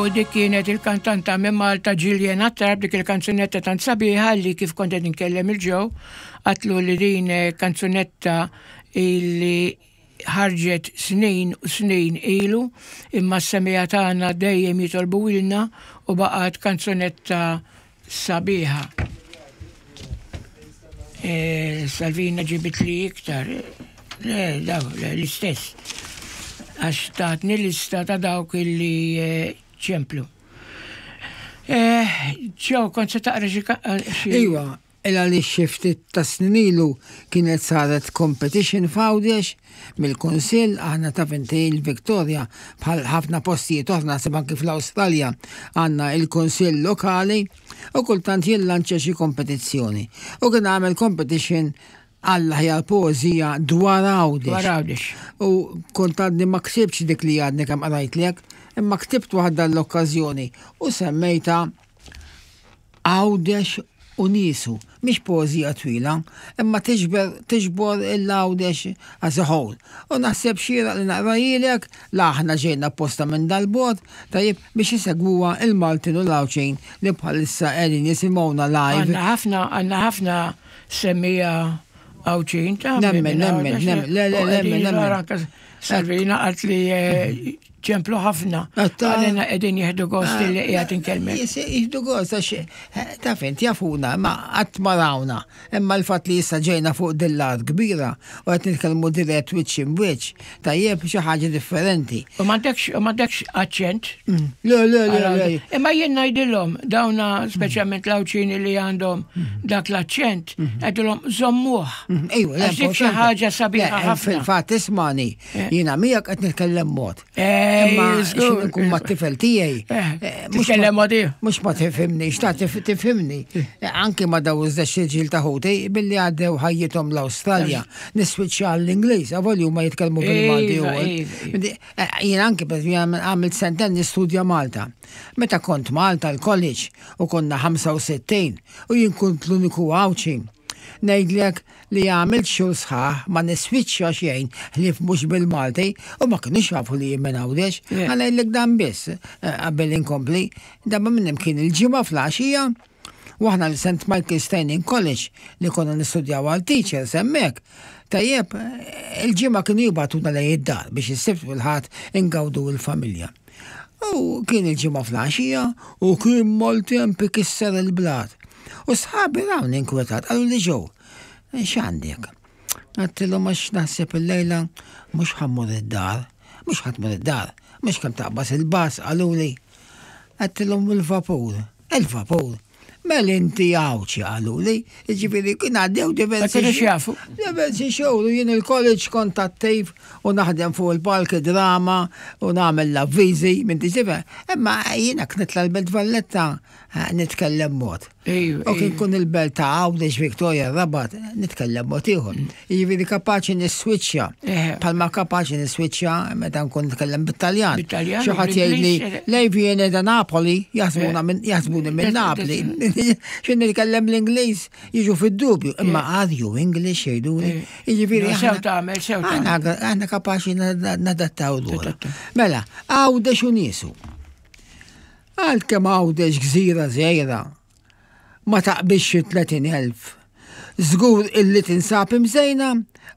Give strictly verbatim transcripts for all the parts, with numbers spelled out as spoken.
U dik kienet il-kantanta minn Malta Gillian Attard, dik il-kanzunetta tant sabiħa li kif kont qed inkellem lil Joe, għedtlu li din kanzunetta illi ħarġet snin u snin ilu, imma s-semmiegħa tagħna dejjem jitolbuhielna u baqgħet kanzunetta sabiħa. E, Salvina ġibit li iktar, le, daw, le, l-istess. Għax tatni lista ta' dawk illi eh, ċemplu. Joe, kont se taqra xi xi. Iwa, illa li xi ftit ta' snin ilu kienet saret competition f'Għawdex mill-Kunsill. Aħna, taf inti, il-Victoria, bħal ħafna postijiet oħra, naħseb anki fl-Awstralja, għandna il-Kunsill lokali u kultant jillanċa xi kompetizzjoni. U kien għamel competition għall-aħjar poeżija dwar Għawdex. Dwar Għawdex. U kont għadni ma ktibtx dik li għadni kemm qrajtlek, imma ktibt waħda l-okkażjoni u semmejta "Għawdex u Niesu". Mhix poeżija twila, imma tiġber tiġbor il-Għawdex as a whole. U naħseb xieraq li naqrahilek, la aħna ġejna posta minn dal-bogħod, tajjeb, biex jisegwuha il-Maltin u l-Għawdxin li bħalissa qegħdin jisimgħuna live. Għandna ħafna, għandna ħafna semmiegħa Għawdxin ta' Nemmen, minn nemmen, Għawdex. Nemmen, le, le, U qegħdin nemmen, nemmen. jara Salvina qalt li eh, ċemplu ħafna. Għatta- Għalina qegħdin jieħdu gost li qiegħed inkellmek. Jis- Jieħdu gost, għax eh, taf int, jafuna, ma qatt ma rawna. Imma l-fatt li issa ġejna fuq dil-art kbira u qed nitkellmu dirett wiċċ imb'wiċċ, tajjeb, xi ħaġa differenti. U m'għandekx u m'għandekx aċċent. Le, le, le, le. Imma jien ngħidilhom dawna, speċjalment l-Għawdxin li għandhom dak l-aċċent, ngħidilhom żommuh. Ejwa, le, Għax dik xi importanti. ħaġa sabiħa Le, ħafna. Fil-fatt, ismani, Eh. jiena miegħek qed nitkellem mod. Eh, Imma żgur. xi nkun mat-tifel tiegħi. Eh, eh, mhux titkellem ma- mod ieħor. Mhux ma tifhimni, xta tif- tifhimni. Eh, Anki ma daw iż-żewġ ġil ta' ħuti billi għaddew ħajjithom l-Awstralja. Niswiċċja għall-Ingliż, avolja ma jitkellmu bil-Malti Iva, ukoll. iva, iva. Quindi, eh, Jien anki per għamilt sentejn nistudja Malta. Meta kont Malta l-college u konna ħamsa u sittin u jien kont l-uniku Għawdxi. Ngħidlek li għamilt xhur sħaħ ma niswiċċja xejn ħlief mhux bil-Malti u ma kienux jafu li jien minn Għawdex. Yeah. Ħa ngħidlek dan biss eh, qabel inkompli. Darba minnhom kien il-Ġimgħa filgħaxija u aħna l-Saint Michael's Training College li konna nistudjaw għal teachers hemmhekk. Tajjeb, eh, il-Ġimgħa kienu jibagħtuna lejn id-dar biex is-Sibt u l-Ħadd ingawdu il-familja. U kien il-Ġimgħa filgħaxija u kien maltemp ikisser il-blat. U sħabi rawni inkwetat, qalu li, "Joe, x'għandek?" Għedtilhom, "Għax naħseb il-lejla mhux ħa mmur id-dar, mhux ħa tmur id-dar, mhux kemm taqbad il-bus," qaluli. Għedtilhom, "Il-vapur, il-vapur. Mela inti Għawdxi," qaluli, ġifieri kien għaddew Ma diversi. kienux jafu. Diversi xhur, u jien il-college kont attiv u naħdem fuq il-palki drama u nagħmel l-avviżi minn tiġifa. Imma jiena nitla' l-Belt Valletta eh, nitkellem mod. Ejju, U kien ejju. kun il-belt ta' Għawdex, Victoria, Rabat, nitkellem mod ieħor. Jiġifieri kapaċi niswiċċja. Eh. Bħalma kapaċi niswiċċja meta nkun nitkellem bit-Taljan. Bit-Taljan Xi u ħadd jgħidli, bl-Ingliż. "Lei viene da Napoli", jaħsbuna Eh. minn jaħsbuni minn Eh, Napoli. Xi nitkellem l-Ingliż jiġu fid-dubju. Imma "Are you English?" jgħiduli. Eh. Jiġifieri No, sew aħna- tagħmel, sew tagħmel. aħna aħna kapaċi nadattaw lura. Nadattaw. Mela, "Għawdex u Niesu". Għalkemm Għawdex gżira żgħira, ma taqbiżx tletin elf. Żgur illi tinsab imżejna,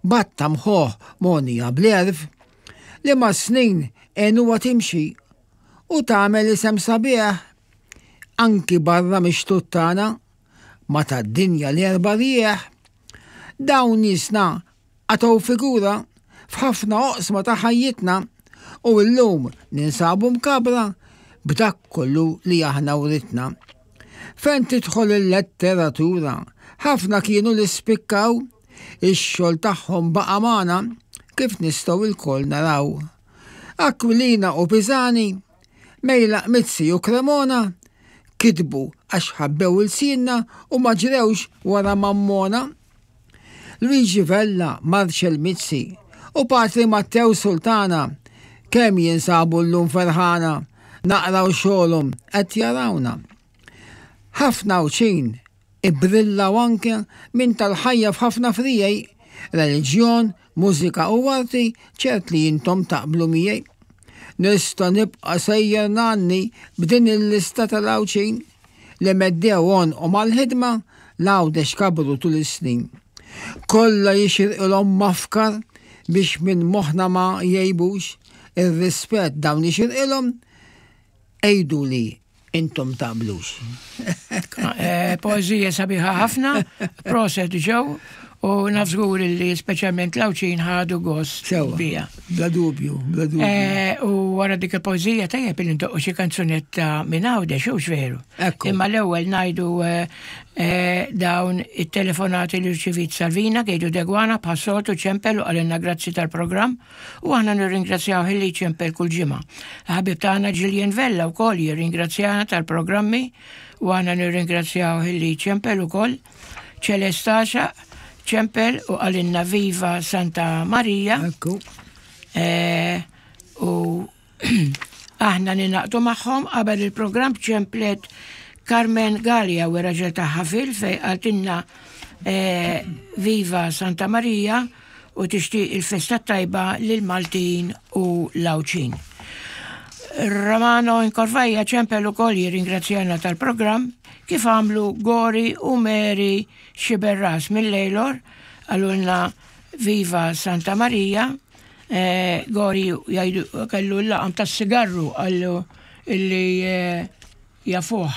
b'għadd ta' mħuħ mogħnija bl-għerf, li mas-snin għenuha timxi u tagħmel isem sabiħ anki barra mix-xtut tagħna ma tad-dinja l-erba' rjieħ. Dawn niesna għataw figura f'ħafna oqsma ta' ħajjitna u llum ninsabu mkabbra b'dak kollu li aħna writna. Fejn tidħol il-letteratura, ħafna kienu li spikkaw, ix-xogħol tagħhom baqa' magħna kif nistgħu lkoll naraw. Aquilina u Pisani, Mejlaq, Mizzi u Cremona, kitbu għax ħabbew ilsienna u ma ġrewx wara mammona. Luigi Vella, Marcel Mizzi u Patri Matteo Sultana, kemm jinsabu llum ferħana, naqraw xogħolhom qed jarawna. Ħafna Għawdxin ibbrillaw anke minn tal-ħajja f'ħafna friegħi, reliġjon, mużika u arti, ċert li intom taqblu miegħi. Nista' nibqa' sejjer ngħanni b'din il-lista tal-Għawdxin li meddew għonqhom għall-ħidma 'l Għawdex kabbru tul is-snin. Kollha jixirqilhom mafkar biex minn moħħna ma jgħibux, ir-rispett dawn jixirqilhom, għiduli intom taqblux. Eh, poeżija sabiħa ħafna, proset ġew, u naf żgur li speċjalment l-Għawdxin ħadu gost bija. Bla dubju, bla dubju. Eh, u wara dik il-poeżija tajjeb li ndoqqu xi kanzunetta minn Għawdex, hux veru? Imma l-ewwel ngħidu eh, dawn it-telefonati li rċivit Salvina, Gejdu Degwana, bħas-soltu ċempel u qalilna grazzi tal-programm u aħna nirringrazzjaw illi ċempel kull ġimgħa. Ħabib tagħna Gillian Vella wkoll jirringrazzjana tal-programmi u aħna nirringrazzjaw illi ċempel ukoll. Ċelestaxa ċempel u qalilna Viva Santa Maria. Ekku. Eh, u aħna ninaqtu magħhom. Qabel il-programm ċemplet Carmen Gallia u raġel tagħha fil fej qaltilna eh, Viva Santa Maria u tixtieq il-festa tajba lil Maltin u l-Għawdxin. Romano Inkorvajja ċempel ukoll jirringrazzjana tal-programm, kif għamlu Gori u Mary Xiberras mill-Lejlor, qalulna Viva Santa Maria. eh, Gori jgħidu kellu l-laqam tas-sigarru, qallu illi eh, jafuh.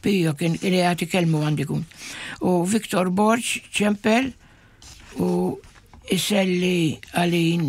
Pio kien jagħti kelmu għandikun. U Victor Borg ċempel u iselli għalin.